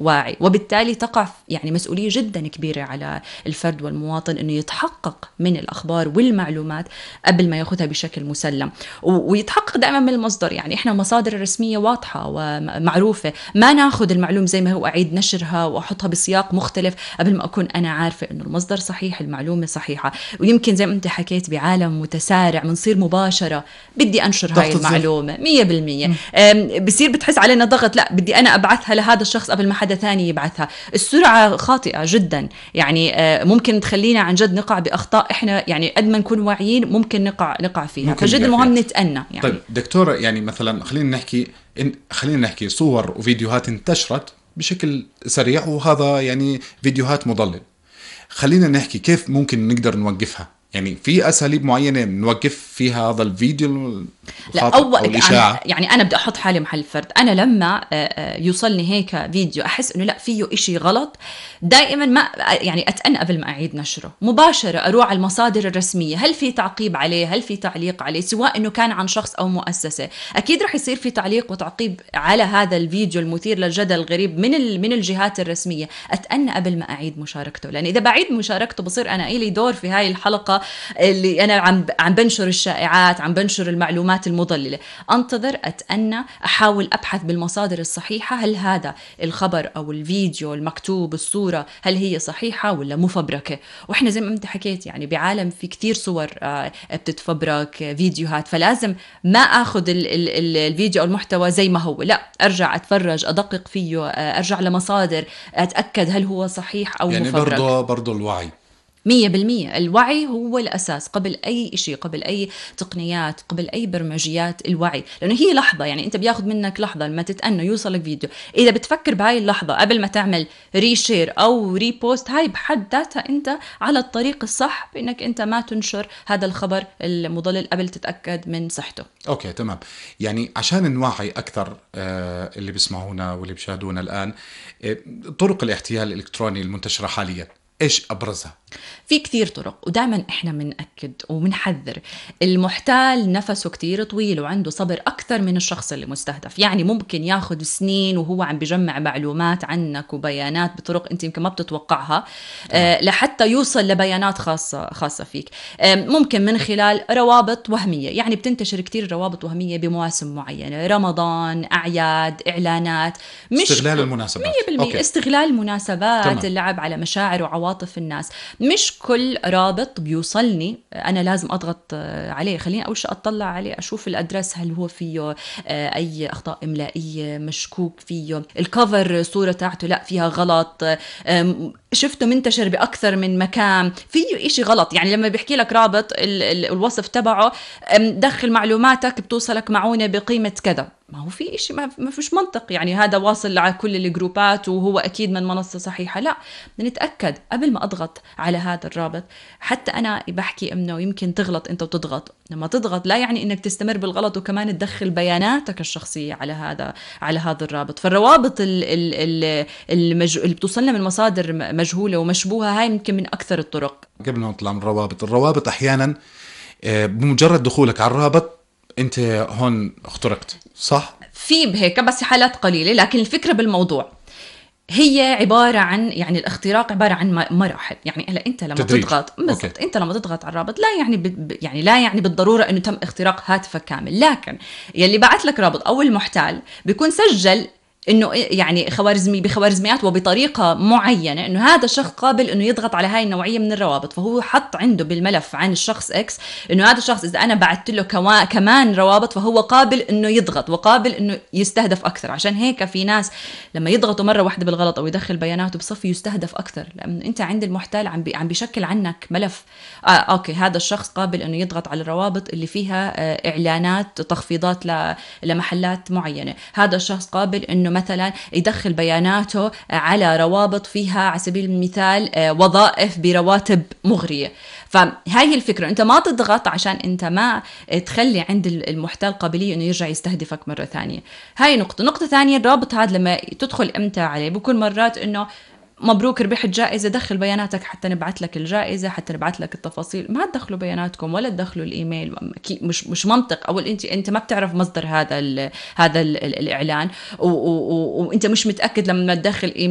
واعي، وبالتالي تقع يعني مسؤولية جدا كبيرة على الفرد والمواطن أنه يتحقق من الأخبار والمعلومات قبل ما يأخذها بشكل مسلم، ويتحقق دائما من المصدر. يعني إحنا المصادر الرسمية واضحة ومعروفة، ما ناخذ المعلومة زي ما هو أعيد نشرها وأحطها بسياق مختلف قبل ما أكون أنا عارفة أنه المصدر صحيح، المعلومة صحيحة. ويمكن زي ما أنت حكيت بعالم متسارع منصير مباشرة بدي أنشر هاي المعلومة 100%، بصير بتحس علينا ضغط، لا بدي أنا أبعثها لهذا الشخص قبل ما حدا ثاني يبعثها. السرعة خاطئة جدا، يعني ممكن تخلينا عن جد نقع بأخطاء إحنا يعني قد ما نكون واعيين ممكن نقع فيها، فجد مهم نتأنى. يعني طيب دكتورة، يعني مثلا خلينا نحكي صور وفيديوهات انتشرت بشكل سريع، وهذا يعني فيديوهات مضلل. خلينا نحكي كيف ممكن نقدر نوقفها، يعني في أساليب معينة نوقف فيها هذا الفيديو أو الإشاعة؟ يعني أنا بدي أحط حالي محل فرد. أنا لما يوصلني هيك فيديو أحس إنه لا فيه إشي غلط، دائما ما يعني أتأنى قبل ما أعيد نشره، مباشرة أروح على المصادر الرسمية، هل في تعقيب عليه، هل في تعليق عليه، سواء إنه كان عن شخص أو مؤسسة. أكيد رح يصير في تعليق وتعقيب على هذا الفيديو المثير للجدل الغريب من الجهات الرسمية. أتأنى قبل ما أعيد مشاركته، لأن إذا بعيد مشاركته بصير أنا إلي دور في هاي الحلقة اللي أنا عم بنشر الشائعات، عم بنشر المعلومات المضللة. أنتظر، أتأنى، أحاول أبحث بالمصادر الصحيحة، هل هذا الخبر أو الفيديو المكتوب الصورة هل هي صحيحة ولا مفبركة. وإحنا زي ما أنت حكيت يعني بعالم في كتير صور بتتفبرك، فيديوهات، فلازم ما أخذ الفيديو أو المحتوى زي ما هو، لا أرجع أتفرج، أدقق فيه، أرجع لمصادر، أتأكد هل هو صحيح أو يعني مفبرك. برضو الوعي 100%. الوعي هو الأساس قبل أي شيء، قبل أي تقنيات، قبل أي برمجيات. الوعي، لأنه هي لحظة، يعني أنت بياخد منك لحظة لما تتأنى يوصلك فيديو. إذا بتفكر بهاي اللحظة قبل ما تعمل ريشير أو ريبوست، هاي بحد ذاتها أنت على الطريق الصح بأنك أنت ما تنشر هذا الخبر المضلل قبل تتأكد من صحته. أوكي تمام. يعني عشان نوعي أكثر اللي بيسمعونا واللي بيشاهدونا الآن، طرق الاحتيال الإلكتروني المنتشرة حاليا إيش أبرزها؟ في كتير طرق، ودائما إحنا منأكد ومنحذر. المحتال نفسه كتير طويل وعنده صبر أكثر من الشخص اللي مستهدف. يعني ممكن ياخد سنين وهو عم بجمع معلومات عنك وبيانات بطرق أنت يمكن ما بتتوقعها، لحتى يوصل لبيانات خاصة فيك. ممكن من خلال روابط وهمية، يعني بتنتشر كتير روابط وهمية بمواسم معينة، رمضان، أعياد، إعلانات، مش استغلال المناسبات. 100% استغلال المناسبات، اللعب على مشاعر وعواطف الناس. مش كل رابط بيوصلني أنا لازم أضغط عليه، خليني أول شيء أطلع عليه، أشوف الأدرس هل هو فيه أي أخطاء إملائية مشكوك فيه، الكفر صورة تاعته لا فيها غلط، شفته منتشر بأكثر من مكان، فيه إشي غلط. يعني لما بيحكي لك رابط الوصف تبعه دخل معلوماتك بتوصلك معونة بقيمة كذا، ما هو في إشي ما فيش منطق. يعني هذا واصل على كل الجروبات وهو أكيد من منصة صحيحة. لا، نتأكد قبل ما أضغط على هذا الرابط. حتى أنا بحكي إنه يمكن تغلط أنت وتضغط، لما تضغط لا يعني إنك تستمر بالغلط وكمان تدخل بياناتك الشخصية على هذا الرابط. فالروابط اللي بتوصلنا من مصادر مجهولة ومشبوهة، هاي يمكن من أكثر الطرق. قبل ما نطلع من الروابط أحيانا بمجرد دخولك على الرابط أنت هون اخترقت، صح؟ في بهيك بس حالات قليلة، لكن الفكرة بالموضوع هي عبارة عن، يعني الاختراق عبارة عن مراحل. يعني هلا أنت لما تضغط بالضبط، أنت لما تضغط على الرابط لا يعني لا يعني بالضرورة إنه تم اختراق هاتفك كامل، لكن يلي بعت لك رابط أو المحتال بيكون سجل إنه يعني بخوارزميات وبطريقة معينة إنه هذا الشخص قابل إنه يضغط على هاي النوعية من الروابط. فهو حط عنده بالملف عن الشخص إكس إنه هذا الشخص إذا أنا بعت له كمان روابط فهو قابل إنه يضغط وقابل إنه يستهدف أكثر. عشان هيك في ناس لما يضغطوا مرة واحدة بالغلط أو يدخل بياناته بصفي يستهدف أكثر، لأن أنت عند المحتال عم بيشكل عنك ملف. أوكي هذا الشخص قابل إنه يضغط على الروابط اللي فيها إعلانات تخفيضات لمحلات معينة. هذا الشخص قابل إنه مثلا يدخل بياناته على روابط فيها على سبيل المثال وظائف برواتب مغرية. فهاي الفكرة، أنت ما تضغط عشان أنت ما تخلي عند المحتال قابلية إنه يرجع يستهدفك مرة ثانية. هاي نقطة ثانية، الرابط هذا لما تدخل إمتى عليه بكون مرات إنه مبروك ربحت جائزة، دخل بياناتك حتى نبعث لك الجائزة، حتى نبعث لك التفاصيل. ما تدخلوا بياناتكم ولا تدخلوا الإيميل، مش منطق. أول أنت ما بتعرف مصدر هذا الإعلان، وأنت مش متأكد لما تدخل إيميل